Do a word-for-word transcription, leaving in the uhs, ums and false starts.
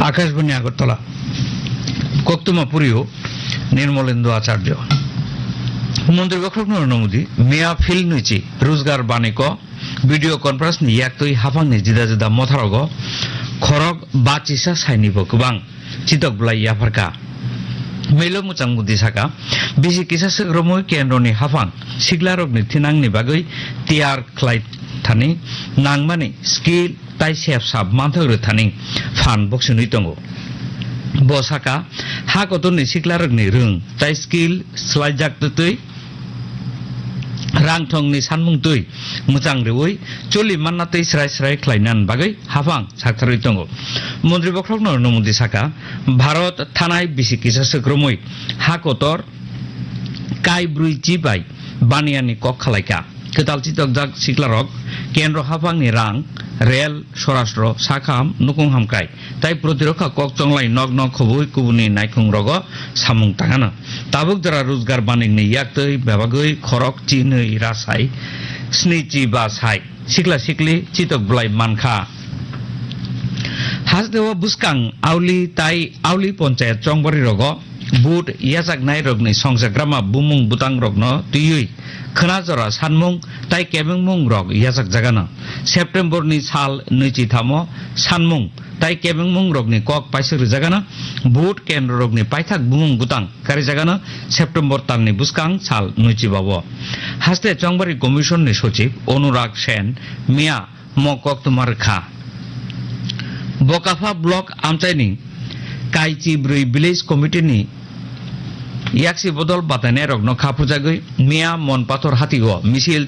Akashbani Agartala. Koktuma Purio, Nirmolendo Acharya. Montri Bokhorok Narendra Modi, Mia Phil Nuichi, Ruzgar Baniko, video conference ni yaktwi hafangni jida jida motharogo, khorok bachisa saini bo kwbang, chitok bwlai yapharka. Melo Mwchang Modi saka, bisi kisa swkromwi kendroni hafang, siklarokni thinangni bagwi tiyar khlai thani, nangmani skill, tai sep sap manthok rwthani phan boksinwi tongo. Bo saka, ha kotorni siklarokni rwng tai skill swlaijak twtwi rang thongni sanmung twi mwchang rwui choli manna twi srai srai khlainan bagwi haphang saktharwi tongo. Montri Bokhorok Narendra Modi saka, Bharat thanai bisi kisa swkromwi ha kotor kai brwi chi bai baniyani kok khalaikha. Kwtal chitokjak siklarok kendro haphangni rang, rel, sorastro, sakham, nukung hamkrai, tai protirokha kok chonglai nok nok khobwi kubuni naikhung rogo samung tangano. Tabuk jora Ruzgar Banikni yaktwi bebagwi khorok chinwi rasai sni chi ba sai sikla sikli chitok bwlai mankha. Hasteo bwskang Auli tai Auli Ponchayat chongbari rogo vote yachaknai rokni songchakrama bumung bwtang rokno twiwi khwna jora sanmung tai kebengmung rok yachakjagano. September ni sal nwichi thamo sanmung tai kebengmung rokni kok paisuk rijagano. Vote kendro rokni paithak bumung bwtang karijagano September talni bwskang sal nwichi bao. Haste Chongbari Commission ni Sochib Onurag Sen miya mo koktwma rwkha. Bokapha Block amchaini Kaichi bwrwi Village Committee ni yaksi bodol batainairokno kha phujagwi miya Monpathor hatio misil